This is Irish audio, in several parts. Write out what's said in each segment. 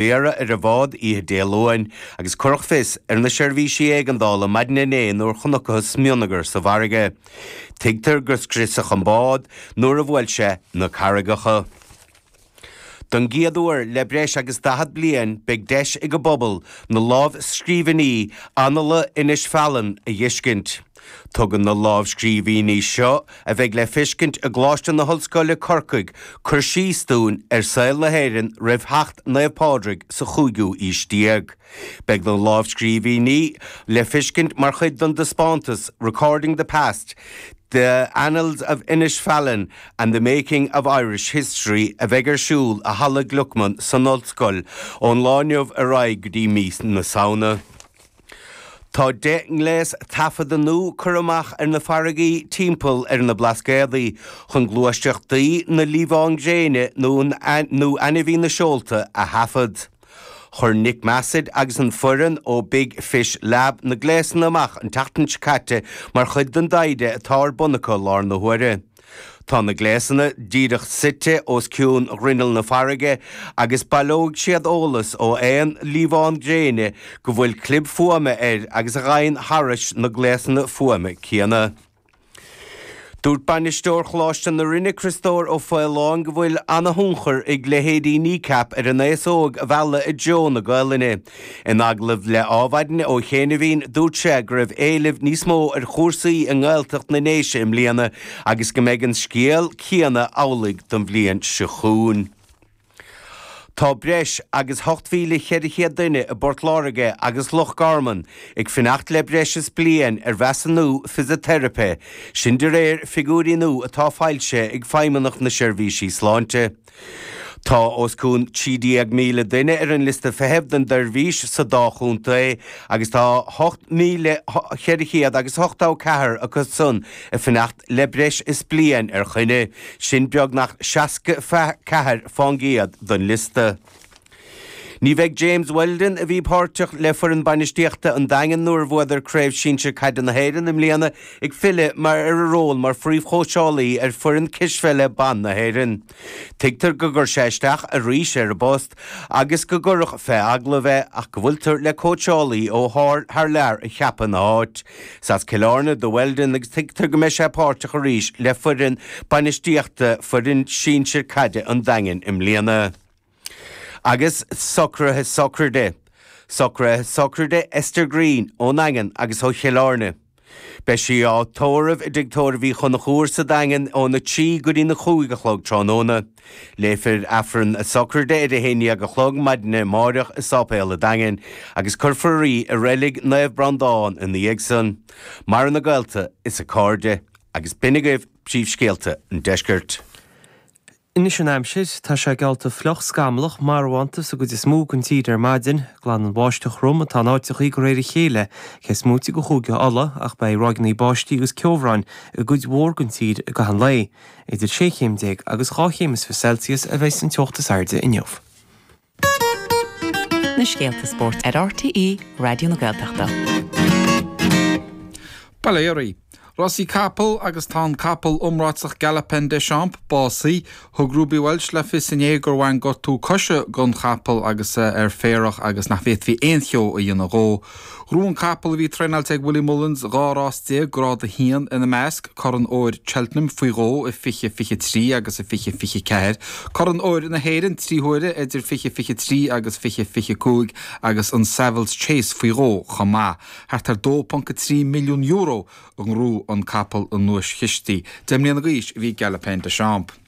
Iarradh ar an bhád oíche Dé Luain agus cuireadh fios ar na seirbhísí éigeandála maidin inné nuair chonacthas smionagar sa bhfarraige. Tuigtear gur scriosadh an bád nuair a bhuail sé na carraigeacha. Don gcéad uair le breis agus 40 bliain beidh deis ag an bpobal na lámhscríbhinní Annála Inis Faithleann a dh'fheiscint. Tugann na lámhscríbhinní seo, a bheidh le feiscint i gColáiste na hOllscoile, Corcaigh, cur síos dúinn ar saol na hÉireann roimh theacht Naomh Pádraig sa chúigiú aois déag. Beidh na lámhscríbhinní le feiscint mar chuid den dtaispeántas Recording the Past, The Annals of Innisfallen and the Making of Irish History a bheidh ar siúl i Halla Gluckman san Ollscoil ón lá inniu ar aghaidh go dtí mí na Samhna. Tá 10 ngléas taifeadta nua curtha amach ar na farraigí timpeall ar na Blascaodaí chun gluaiseachtaí na liamhán gréine nó ainmhí na seolta a thaifead. Chuir Nick Massett agus an foireann ó Big Fish Lab na gléasanna amach an tseachtain seo caite mar chuid den dtaighde atá ar bun acu i láthair na huaire. Tá na gléasanna díreach suite os cionn ghrinneall na farraige agus baileoidh siad eolas ó aon liamhán gréine go bhfuil clib fuaime air agus a ghabhann thairis na gléasanna fuaime céanna. Dúirt bainisteoir Choláiste na Rinne, Criostóir Ó Faoláin go bhfuil ana-thionchar ag leithéidí Kneecap ar an aos óg a mhealladh i dtreo na Gaelainne. In agallamh le Adhmhaidin ó chianaibhín, dúirt sé go raibh éileamh níos mó ar chúrsaí i nGaeltacht na nDéise i mbliana agus go mbeidh an scéal céanna amhlaidh don bhliain seo chugainn. Tá breis agus 8,400 duine i bPort Láirge agus Loch Garman ag fanacht le breis is bliain ar mheasúnú fisiteiripe, sin de réir figiúirí nua atá foilsithe ag Feidhmeannacht na Seirbhísí Sláinte. Tá os cionn 13,000 duine ar an liosta feithimh don tseirbhís sa dá chontae agus tá 8,400 agus 84 acu san ag fanacht le breis is bliain ar choinne, sin beagnach 64 fán gcéad den liosta. Ní bheidh James Weldon, a bhí páirteach le foireann bainistíochta an Daingin nuair a bhuadar Craobh Sinsir Caide na hÉireann i mbliana, ag filleadh mar ar a ról mar phríomhchóitseálaí ar foireann cispheile ban na hÉireann. Tuigtear go gcuir sé isteach arís ar an bpost agus go gcuireadh fé agallamh é ach go bhfuiltear le cóitseálaí ó thar lear a cheapadh ina áit. Is as Cill Airne do Weldon agus tuigtear go mbeidh sé páirteach arís le foireann bainistíochta foireann sinsir caide an Daingin i mbliana. Agus socruithe sochraide. Socruithe sochraide Esther Greene ón nDaingean agus ó Chill Airne. Beidh sí á tórramh i dTigh Tórraimh Uí Chonchúir sa Daingean óna 3 go dtína 5 a chlog tráthnóna. Léifear Aifreann a sochraide ar a 11 a chlog maidin amáireach i Sáipéal an Daingin agus cuirfear í i Reilig Naomh Breandán ina dhiaidh san. Maireann a gaolta is a cairde. Agus b'in agaibh príomhscéalta an deiscirt. Anois an aimsir, tá sé geallta fliuch scamallach marbhánta sa gcuid is mó den tír ar maidin. Glanann báisteach throm atá in áiteachaí de réir a chéile, cé is móite de Chúige Uladh, ach beidh ráigeanna báistí agus ceobhráin i gcuid mhór den tír i gcaitheamh an lae. Idir 16 chéim agus 22 chéim Celsius a bheidh an teocht is airde inniu. Na scéalta spóirt ar RTÉ Raidió na Gaeltachta. Bail ó Dhia oraibh. Rásaí capall agus tá an capall iomráiteach Galopin Des Champs básaithe. Thug Ruby Walsh le fios inné gur bhain gortú coise don chapall agus é ar féarach agus nach bhféadfaí aon cheo a dhéanamh dhó. Ghnóthaigh an capall a bhí traenáilte ag Willie Mullins 12 rás, Grád 1 ina measc, Corn Óir Cheltenham faoi dhó i 2023 agus i 2024, Corn Óir na hÉireann 3 huaire idir 2023 agus 2025 agus an Savills Chase faoi dhó chomh maith. Thart ar €2.3 milliún a ghnóthaigh an capall i nduaischistí. Deich mbliana d'aois a bhí Galopin Des Champs.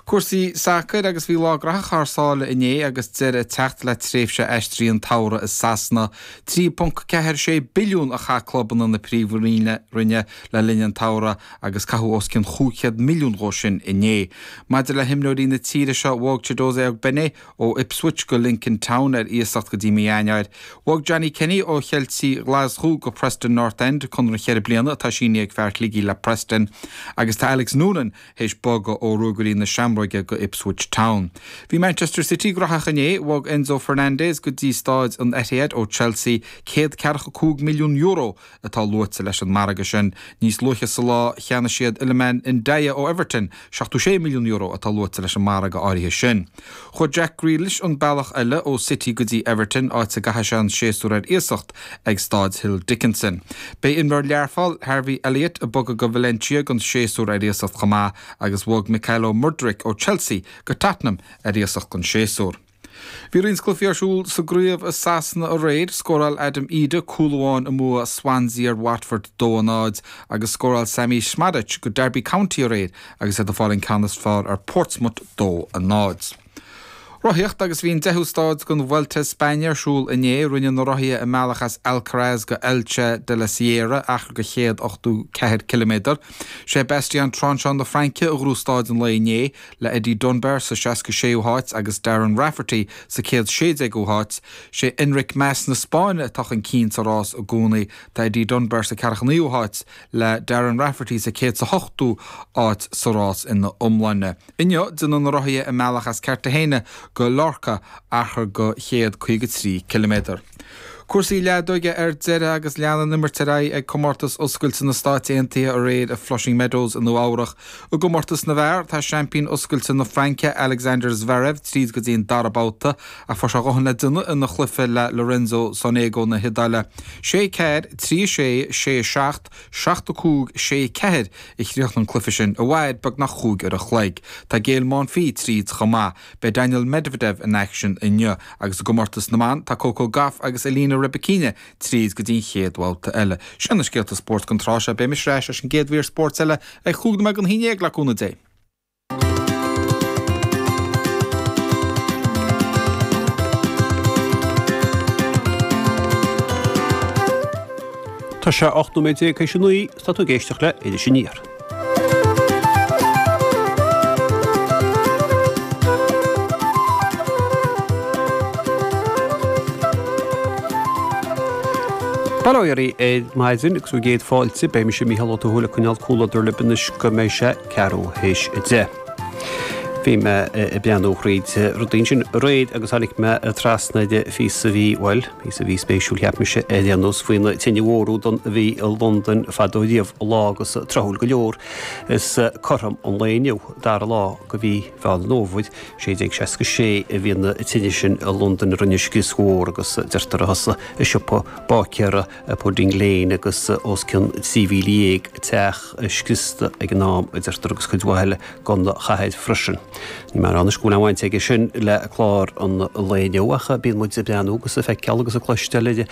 Cúrsaí sacair agus bhí lá graitheach thar sáile inné agus deireadh ag teacht le tréimhse aistrithe an tsamhraidh i Sasana. 3.46 billiún a chaith clubanna na Príomhroinne le linn an tsamhraidh agus caitheadh os cionn 500 milliún dhó sin inné. Maidir le himreoirí na tíre seo, bhog Chiedozie Ogbene ó Ipswich go Lincoln Town ar iasacht go dtí mí Eanáir. Bhog Johnny Kenny ó Cheiltigh Ghlaschú go Preston North End, conradh cheithre bliana atá sínithe ag fear Shligigh le Preston. Agus tá Alex Noonan théis bogadh ó Ruagairí na Seamróige. seamróige go Ipswich Town. Bhí Manchester City graitheach inné, bhog Enzo Fernandez go dtí Stáid an Etihad ó Chelsea, €145 milliún atá luaite leis an margadh sin. Níos luaithe sa lá, cheannaigh siad Iliman Ndiaye ó Everton, €76 milliún atá luaite leis an margadh áirithe sin. Chuaigh Jack Grealish an bealach eile ó City go dtí Everton, áit a gcaithfidh sé an séasúr ar iasacht ag Stáid Hill Dickinson. Beidh imreoir Learpholl, Harvey Elliott, ag bogadh go Valencia don séasúr ar iasacht chomh maith agus bhog Mykhailo Mudryk ó Chelsea go Tottenham ar iasacht don séasúr. Bhí roinnt cluichí ar siúl sa gcraobh i Sasana aréir. Scóráil Adam Idah cúl amháin i mbua Swansea ar Watford 2-0 agus scóráil Sammy Szmodics go Derby County aréir agus iad ag fáil an ceann is fearr ar Portsmouth 2-0. Rothaíocht agus bhí an deichiú stáid den Vuelta a España ar siúl inné. Rinne na rothaithe a mbealach as Alcaraz go Elche de la Sierra, achar de 184 ciliméadar. Sé Bastien Tronchon na Fraince a ghnóthaigh stáid an lae inné, le Eddie Dunbar sa 66ú háit agus Darren Rafferty sa 116ú háit. Sé Enric Mas na Spáinne atá chun cinn sa rás i gcónaí. Tá Eddie Dunbar sa 49ú háit le Darren Rafferty sa 108ú áit sa rás ina iomláine. Inniu, déanfaidh na rothaithe a mbealach as Cartagena go Lorca, achar de 153 ciliméadar. Cúrsaí leadóige ar deireadh agus lean an imirt ar aghaidh ag Comórtas Oscailte na Stáit Aontaithe aréir i Flushing Meadows i Nua Eabhrach. I gcomórtas na bhfear, tá seaimpín Oscailte na Fraince, Alexander Zverev, tríd go dtí an dara babhta ach fuair sé a dhóthain le déanamh ina chluiche le Lorenzo Sonego na hIodáile. 6 4, 3 6, 6 7, 7 5, 6 4 a chríochnaigh an cluiche sin, a mhair beagnach chúig uair a chloig. Tá Gael Monfils tríd chomh maith. Beidh Daniil Medvedev in aicsean inniu agus i gcomórtas na mban tá Coco Gauff agus Elena Rybakina tríd go dtí an chéad bhabhta eile. Sin na scéalta spóirt don tráth seo. Beidh mise ar ais leis an gcéad mhír spóirt eile ag chúig nóiméad don haon dhéag le cúnamh Dé. Tá sé 18 nóiméad théis a 9, tá tú ag éisteacht le Iris Aniar. Bail ó Dhia oraibh ar maidin agus bhur gcéad fáilte. Beidh mise Mícheál Ó Tuathail ag coinneáil comhluadar libh anois go mbeidh sé ceathrú théis 10. Bhí mé ag breathnú thríd rudaí ansin aréir agus tháinig mé trasna ar phíosa a bhí, bhuel, Píosa a bhí spéisiúil, cheap mise, ar aon nós, faoi na tine mhór údan a bhí i Londain fadó riamh, lá agus tráthúil go leor. Is cothrom an lae inniu, dara lá de mhí Mheán an Fhómhair, 1666, a bhí na tine sin i Londain a rinne scrios mhór agus deirtear a thosaigh i siopa báicéara i Pudding Lane agus os cionn 13,000 teach scriosta ag an am, a deirtear, agus cuid mhaith eile den chathair freisin. Níl mé ag rá anois go bhfuil aon bhaint aige sin le clár an lae inniu ach bíonn muid ag breathnú agus ag feiceáil agus ag cloisteáil ar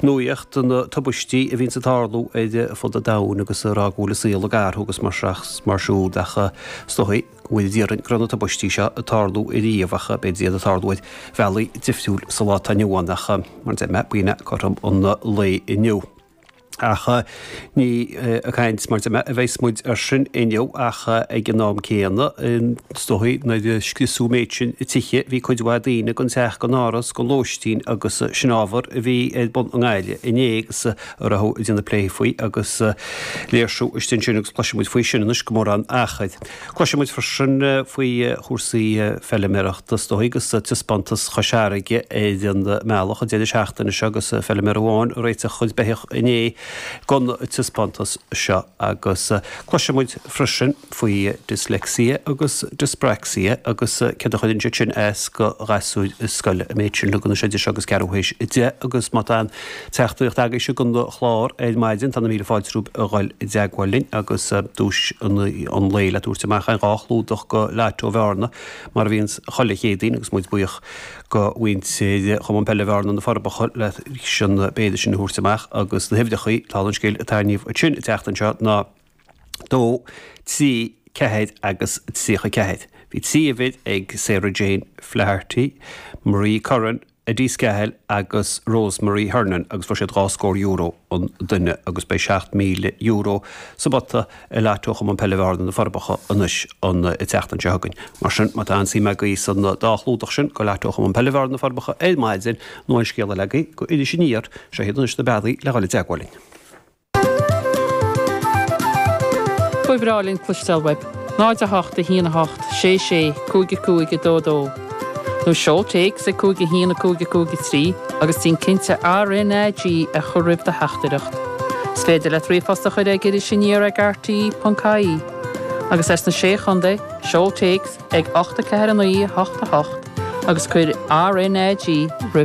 nuaíocht na tubaistí a bhíonns ag tarlú ar fud an domhain agus ag rá go bhfuil an saol ag athrú agus mar seo is mar siúd ach is dóigh go bhfuil idir go raibh na tubaistí seo ag tarlú ariamh ach b'fhéidir iad ag tarlú ar bhealaí difriúil sa lá atá inniu ann ach mar a deir mé, b'in é cothrom an lae inniu. Ach ní ag caint, mar a bheas muid air sin inniu, ach ag an am céanna, is dóigh, nuair a scriosadh an méid sin tithe, bhí cuid mhaith daoine gan teach, gan áras, gan lóistín agus sin ábhar a bhí ar bun i nGaillimh inné agus a raibh ag déanamh plé faoi agus léirsiú istigh ansin agus cloisfidh muid faoi sin anois gan mórán achair. Cloisfidh muid freisin faoi chúrsaí feiliméarachta is dóigh agus taispeántas Chois Fharraige ar an mbealach an deireadh seachtaine seo agus feiliméar amháin ag réiteach a chuid beithíoch inné don taispeántas seo agus cloisfidh muid freisin faoi dyslexia agus dyspraxia agus céard a chuireann siad sin as do ghasúir scoile. An méid sin againn anois idir seo agus ceathrú théis 10 agus má tá aon Teachtaireacht agaibhse don chlár ar maidin. Tá na míle fáilte romhaibh a dhul i dteagmháil linn agus duais an lae le tabhairt amach againn, 2 chlúdach go Lotto Bhearna mar a bhíonns chuile Chéadaoin agus muid buíoch go mhuintir Chumann Peile Bhearna na Forbacha leis an bpéire sin a thabhairt amach agus na huimhreachaí, dála an scéil, a tarraingíodh ansin an tseachtain seo ná 2, 3, 4 agus 34. Bhí 3 uimhir ag Sarah Jane Flaherty, Marie Curran, Eddie Scahill agus Rose Marie Hernon agus fuair siad dhá scór euro an duine agus beidh €7,000 sa bpota i Lotto Chumann Peile Bhearna na Forbacha anois an tseachtain seo chugainn. Mar sin, má tá aon suim agaibh san dá chlúdach sin go Lotto Chumann Peile Bhearna na Forbacha ar maidin nó aon scéal eile agaibh go Iris Aniar, seo iad anois na bealaí le dhul i dteagmháil linn. Ba bhreá linn cloisteáil uaibh. 0 8 1 8 6 6 5 5 2 2 Nó seol téacs ag 5 1 5 5 3 agus déan cinnte RnaG a chur roimh do theachtaireacht. Is féidir leat ríomhphost a chur ag irisaniar ag rte.ie. Agus as na Sé Chontae, seol téacs ag 8 4 9 8 8 agus cuir RnaG roimh.